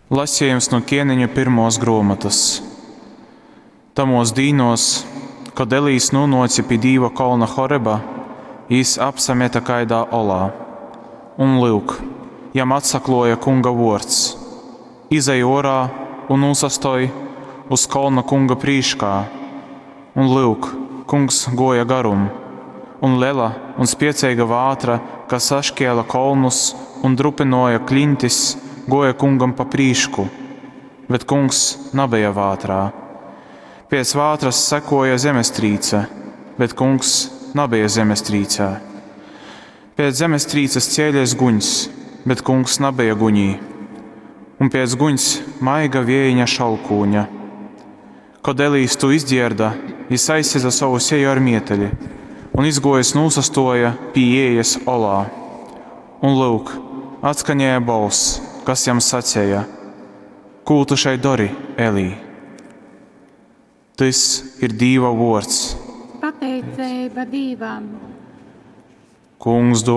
Lasejums nu Kieneņu pyrmuos gruomotys. Tamuos dīnuos, kod Elijs nūnuoce pi Dīva kolna Horeba, jis apsamete kaidā olā. Un, lyuk, jam atsakluoja Kunga vuords, Izej uorā un nūsastōj uz kolna Kunga prīškā! Un, lyuk, Kungs guoja garum, un lela un spieceiga vātra, kas saškēle kolnus un drupynuoja kliņtis, guoja Kungam pa prīšku, bet Kungs nabeja vātrā. Pēc vātras sekuoja zemestrīce, bet Kungs nabeja zemestrīcē. Pēc zemestrīces cēlēs guņs, bet Kungs nabeja guņī. Un pēc guņs maiga viejiņa šalkūņa. Kod Elijs tū izdzierda, jis aizsedze sovu seju ar mieteli un izguojis nūsastuoja pi iejas olā. Un, lyuk, atskanēja bolss, kas jam saceja: Kū tu šeit dori, Elij? Tys ir Dīva vuords. Pateiceiba Dīvam. Kungs duovuos.